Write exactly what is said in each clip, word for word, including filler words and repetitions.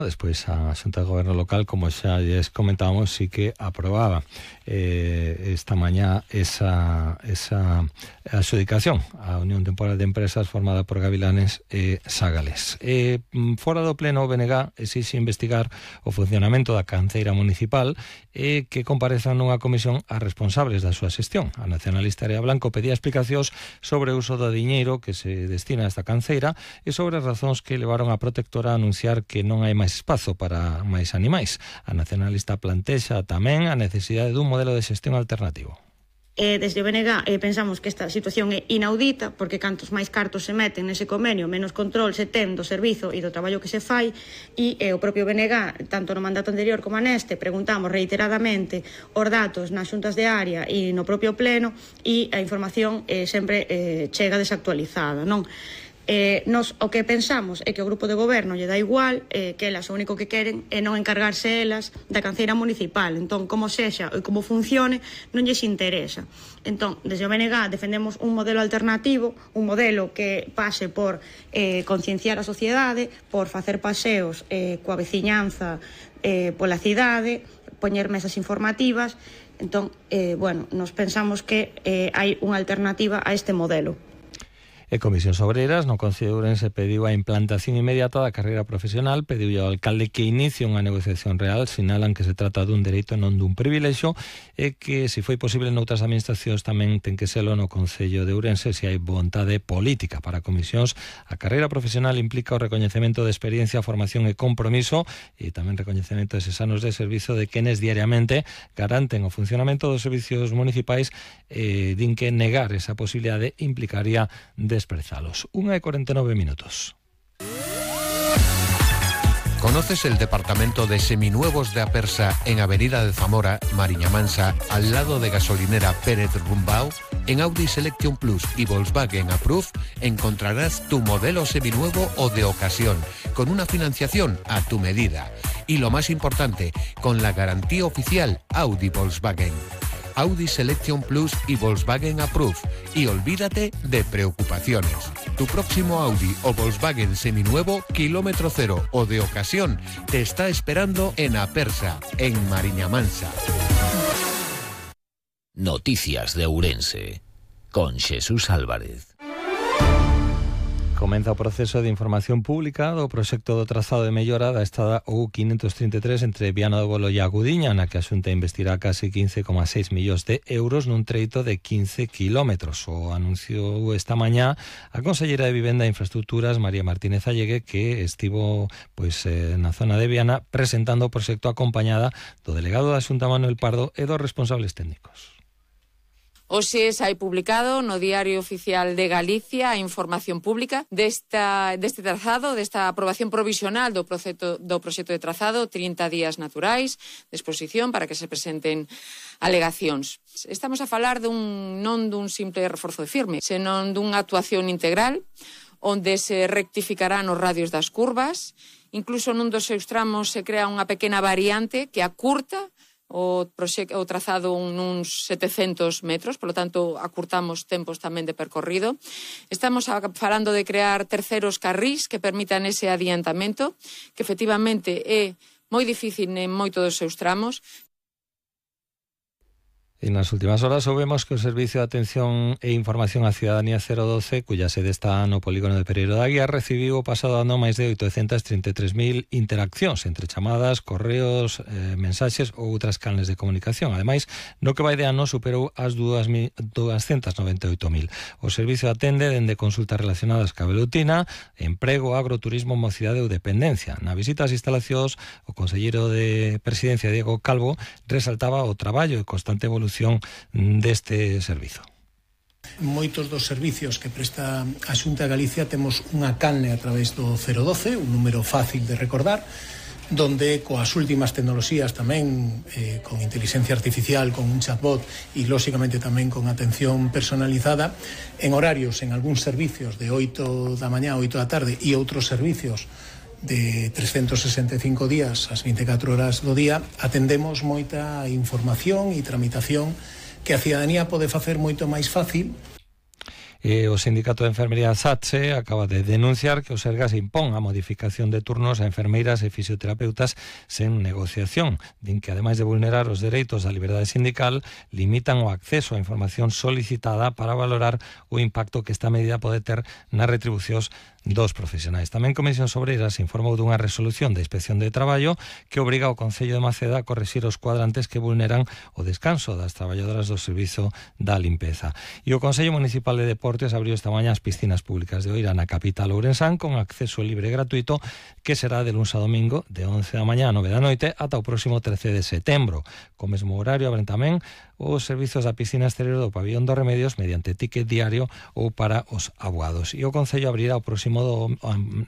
Despois a Xunta de Goberno Local, como xa lles comentábamos, sí que aprobaba eh, esta mañá esa, esa adxudicación a Unión Temporal de Empresas formada por Gavilanes e Sagales. Eh, fora do pleno, o B N G exixe investigar o funcionamento da canceira municipal e que comparezan nunha comisión a responsables da súa xestión. A nacionalista Area Blanco pedía explicacións sobre o uso do diñeiro que se destina a esta canceira e sobre as razóns que levaron a protectora a anunciar que non hai máis espazo para máis animais. A nacionalista plantexa tamén a necesidade dun modelo de xestión alternativo. Eh, desde o B N G eh, pensamos que esta situación é inaudita, porque cantos máis cartos se meten nese convenio, menos control se ten do servizo e do traballo que se fai, e eh, o propio B N G, tanto no mandato anterior como neste, preguntamos reiteradamente os datos nas xuntas de área e no propio pleno, e a información eh, sempre eh, chega desactualizada, non? Eh, nos o que pensamos é que o grupo de goberno lle dá igual, eh, que elas o único que queren é non encargarse elas da canceira municipal. Entón, como sexa e como funcione, non lles interesa. Entón, desde o B N G defendemos un modelo alternativo, un modelo que pase por eh, concienciar a sociedade, por facer paseos eh, coa veciñanza eh, pola cidade, poñer mesas informativas. Entón, eh, bueno, nos pensamos que eh, hai unha alternativa a este modelo. E Comisións Obreras no Concello de Ourense pediu a implantación inmediata da carreira profesional, pediu ao alcalde que inicie unha negociación real, sinalan que se trata dun dereito non dun privilexio e que, se foi posible noutras administracións, tamén ten que selo no Concello de Ourense se hai vontade política. Para Comisións, a carreira profesional implica o recoñecemento de experiencia, formación e compromiso e tamén recoñecemento deses anos de servizo de quenes diariamente garanten o funcionamento dos servicios municipais e din que negar esa posibilidade implicaría de desprezalos. Una y cuarenta y nueve minutos. ¿Conoces el departamento de seminuevos de Apersa en Avenida de Zamora, Mariña Mansa, al lado de gasolinera Pérez Rumbao? En Audi Selection Plus y Volkswagen Approve encontrarás tu modelo seminuevo o de ocasión, con una financiación a tu medida. Y lo más importante, con la garantía oficial Audi Volkswagen. Audi Selection Plus y Volkswagen Approve. Y olvídate de preocupaciones. Tu próximo Audi o Volkswagen seminuevo, kilómetro cero o de ocasión, te está esperando en Apersa, en Mariña Mansa. Noticias de Ourense, con Xesús Álvarez. Comeza o proceso de información pública do proxecto do trazado de mellora da estrada U quinhentos trinta e tres entre Viana do Bolo e a Gudiña, na que a Xunta investirá case quince coma seis millóns de euros nun treito de quince kilómetros. O anunciou esta mañá a consellera de Vivenda e Infraestructuras, María Martínez Allegue, que estivo pois eh, na zona de Viana presentando o proxecto acompañada do delegado da Xunta, Manuel Pardo, e dos responsables técnicos. Hoxe hai publicado no Diario Oficial de Galicia a información pública desta, deste trazado, desta aprobación provisional do proxecto, do proxecto de trazado, trinta días naturais de exposición para que se presenten alegacións. Estamos a falar dun, non dun simple reforzo de firme, senón dunha actuación integral onde se rectificarán os radios das curvas, incluso nun dos seus tramos se crea unha pequena variante que acurta o, proxecto, o trazado nuns setecentos metros, polo tanto, acurtamos tempos tamén de percorrido. Estamos falando de crear terceros carrís que permitan ese adiantamento, que efectivamente é moi difícil en moito dos seus tramos. En las últimas horas soubemos que o Servicio de Atención e Información á Cidadanía cero doce, cuya sede está no polígono de Pereiro da Guía, recibiu o pasado ano máis de oitocentas trinta e tres mil interaccións entre chamadas, correos, eh, mensaxes ou outras canles de comunicación. Ademais, no que vai de ano superou as doscientas noventa e oito mil. O servicio atende dende consultas relacionadas ca velutina, emprego, agroturismo, mocidade ou dependencia. Na visita ás instalacións, o conselleiro de Presidencia, Diego Calvo, resaltaba o traballo e constante evolución deste servizo. Moitos dos servicios que presta a Xunta de Galicia temos unha canle a través do cero doce, un número fácil de recordar, donde coas últimas tecnoloxías tamén, eh, con inteligencia artificial, con un chatbot e lóxicamente tamén con atención personalizada, en horarios en algúns servicios de oito da mañá, oito da tarde e outros servicios de trescentos sesenta e cinco días as vinte e catro horas do día, atendemos moita información e tramitación que a cidadanía pode facer moito máis fácil. E o Sindicato de Enfermería SATSE acaba de denunciar que o Sergas impón a modificación de turnos a enfermeiras e fisioterapeutas sen negociación. Din que, ademais de vulnerar os dereitos da liberdade sindical, limitan o acceso á información solicitada para valorar o impacto que esta medida pode ter nas retribucións dos profesionais. Tamén Comisións Obreiras informou dunha resolución de inspección de traballo que obriga ao Concello de Maceda a corrixir os cuadrantes que vulneran o descanso das traballadoras do servizo da limpeza. E o Consello Municipal de Deportes abriu esta mañá as piscinas públicas de Oira na capital ourensán con acceso libre e gratuito que será de luns a domingo de once da mañá a nove da noite ata o próximo trece de setembro. Co mesmo horario abren tamén os servizos da piscina exterior do Pabillón dos Remedios mediante ticket diario ou para os abogados. E o Concello abrirá o próximo do,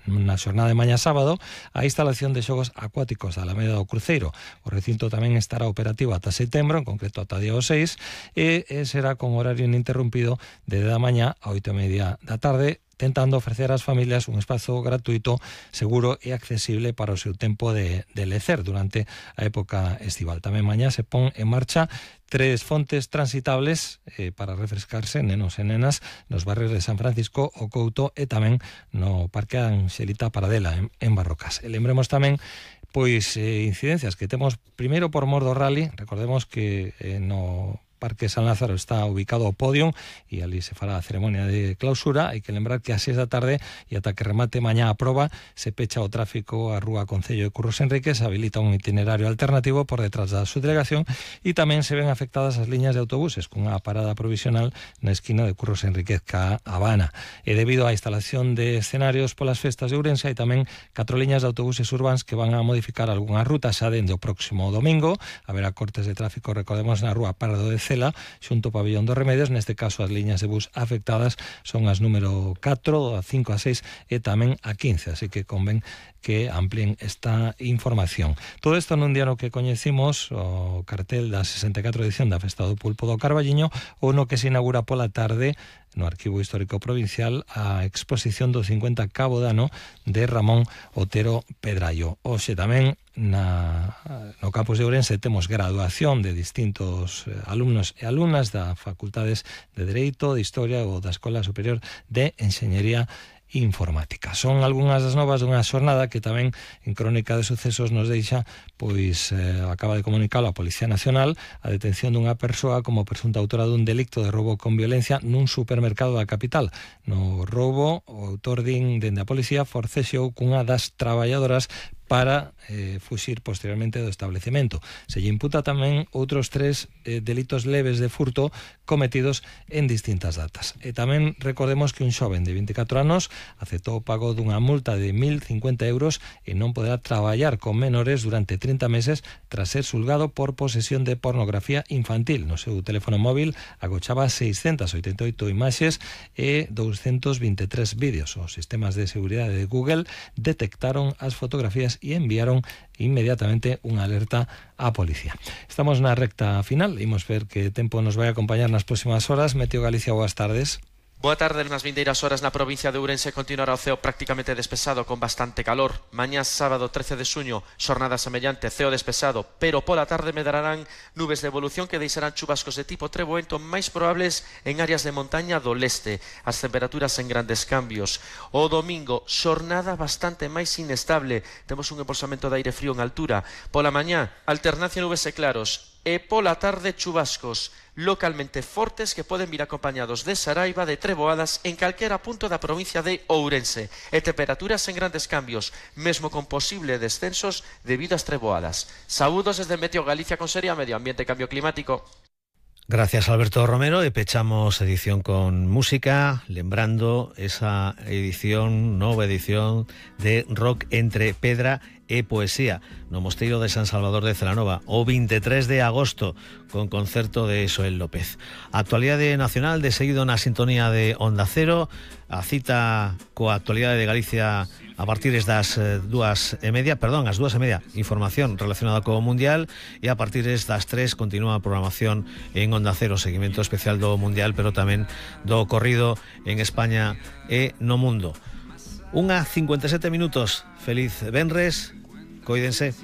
na xornada de mañá sábado a instalación de xogos acuáticos da Alameda do Cruceiro. O recinto tamén estará operativo ata setembro, en concreto ata día seis, e, e será con horario ininterrumpido de dez da mañá a oito e media da tarde, tentando ofrecer ás familias un espazo gratuito, seguro e accesible para o seu tempo de, de lecer durante a época estival. Tamén mañá se pon en marcha tres fontes transitables eh, para refrescarse nenos e nenas nos barrios de San Francisco, o Couto e tamén no Parque Anxelita Paradela en, en Barrocas. E lembremos tamén pois eh, incidencias que temos primeiro por mor do rally. Recordemos que eh, no Parque San Lázaro está ubicado o Podium e ali se fará a ceremonia de clausura. Hai que lembrar que a seis da tarde e ata que remate mañá a proba se pecha o tráfico a Rúa Concello de Curros Enríquez, se habilita un itinerario alternativo por detrás da subdelegación e tamén se ven afectadas as liñas de autobuses cunha parada provisional na esquina de Curros Enríquez ca Habana. E debido á instalación de escenarios polas festas de Ourense hai tamén catro liñas de autobuses urbáns que van a modificar algunhas rutas xa dende o próximo domingo. Haberá cortes de tráfico, recordemos, na Rúa Pardo de Cela xunto ao Pabillón dos Remedios. Neste caso as liñas de bus afectadas son as número catro, a cinco, a seis e tamén a quince, así que convén que amplíen esta información. Todo isto nun día no que coñecimos o cartel da sesenta e catro edición da Festa do Pulpo do Carballiño, ou no que se inaugura pola tarde no Arquivo Histórico Provincial a exposición do cincuenta Cabo de Ano de Ramón Otero Pedrallo. Hoxe tamén na, no campus de Ourense temos graduación de distintos alumnos e alumnas da Facultades de Dereito, de Historia ou da Escola Superior de Enxeñería Informática. Son algunhas das novas dunha xornada que tamén en Crónica de Sucesos nos deixa, pois eh, acaba de comunicalo a Policía Nacional a detención dunha persoa como presunta autora dun delicto de roubo con violencia nun supermercado da capital. No roubo, o autor din dende a policía forcexeou cunha das traballadoras para eh, fuxir posteriormente do establecemento. Se lle imputa tamén outros tres eh, delitos leves de furto cometidos en distintas datas. E tamén recordemos que un xoven de vinte e catro anos aceptou o pago dunha multa de mil cincuenta euros e non poderá traballar con menores durante trinta meses tras ser xulgado por posesión de pornografía infantil. No seu teléfono móvil agochaba seiscentas oitenta e oito imaxes e doscientos vinte e tres vídeos. Os sistemas de seguridade de Google detectaron as fotografías e enviaron inmediatamente unha alerta á policía. Estamos na recta final, imos ver que tempo nos vai acompañar nas próximas horas. Meteo Galicia, boas tardes. Boa tarde. Nas vindeiras horas na provincia de Ourense continuará o ceo prácticamente despexado con bastante calor. Mañá sábado trece de xuño, xornada semellante, ceo despexado, pero pola tarde medrarán nubes de evolución que deixarán chubascos de tipo treboento máis probables en áreas de montaña do leste. As temperaturas en grandes cambios. O domingo, xornada bastante máis inestable. Temos un embolsamento de aire frío en altura. Pola mañá, alternancia nubes e claros. E pola tarde chubascos localmente fortes que poden vir acompañados de saraiva, de treboadas en calquera punto da provincia de Ourense. E temperaturas en grandes cambios, mesmo con posible descensos debido ás treboadas. Saúdos desde Meteo Galicia con Seria Medio Ambiente e Cambio Climático. Gracias, Alberto Romero, e pechamos edición con música, lembrando esa edición, nova edición de Rock entre Pedra e Poesía no Mosteiro de San Salvador de Celanova o vinte e tres de agosto con concerto de Xoel López. Actualidade nacional de seguido na sintonía de Onda Cero, a cita coa actualidade de Galicia a partir das dúas e media, perdón, as dúas e media, información relacionada co Mundial, e a partir das tres continúa a programación en Onda Cero, seguimento especial do Mundial, pero tamén do ocorrido en España e no mundo. Unha cincuenta e sete minutos. Feliz venres, coídense.